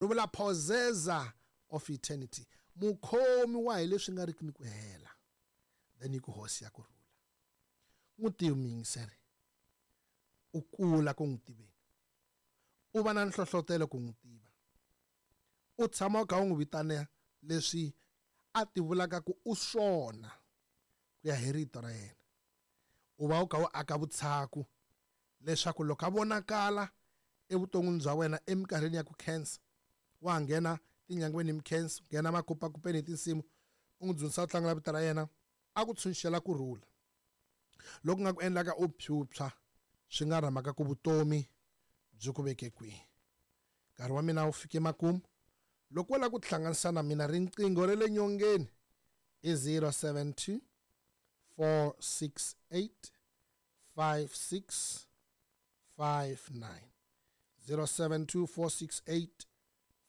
Ri vula possessor of eternity, mukhomi wa hi leswi nga riki ni ku hela. Then yi ku hosi ya ku rhula. N'wi tivi muyingiseri, u kula ku n'wi tiveni, u va na nhlohlotelo ku n'wi tiva, u tshama u kha u n'wi vitana leswi a ti vulaka ku u swona ku ya hi rito ra yena. U va u kha u aka vutshaku leswaku loko a vonakala evuton'wini bya wena eminkarhini ya ku khensa, wa nghena tinyangweni hi mikhenso, nghena makupakupeni hi tinsimu, u n'wi dzunisa u tlangela vito ra yena, a ku tshunxela ku rhula loku nga ku endlaka u phyuphya, swi nga ri mhaka ku vutomi byi ku veke kwihi. Nkarhi wa mina wu fike makumu. Loko wo lava ku tihlanganisa na mina, riqingho ra le nyongeni i 072 468 5659, 072 468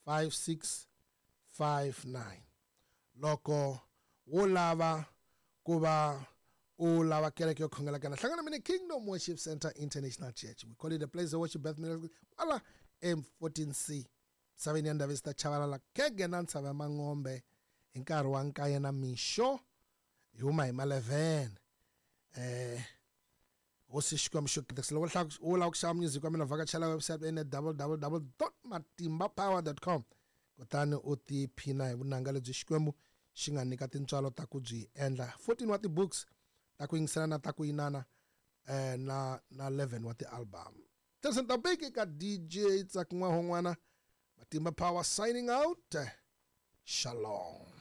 5659. Loko wo lava ku va u lava kereke yo khongela kana, hlangana mina Kingdom Worship Center International Church. We call it the place of worship, birth miracle, kwala M14C, misaveni ya Ndavista Chavalala, kege na ntshava ya Mangombe, hi nkarhi wa nkaye na mixo, hi huma hi ma 11. Hosi Xikwembu xo katekisa. Loko u lava ku xava music wa mina, vhakachela website ene www.matimbapower.com, kutani u tiphina hi vunanga lebyi Xikwembu xi nga nyika tintswalo ta ku byi endla. 14 wa ti-books ta ku yingisela na ta ku yinana, na 11 wa ti-album. Tirhisa Tabiki ka DJ Tsakin'wahon'wana, Matimba Power signing out. Shalom.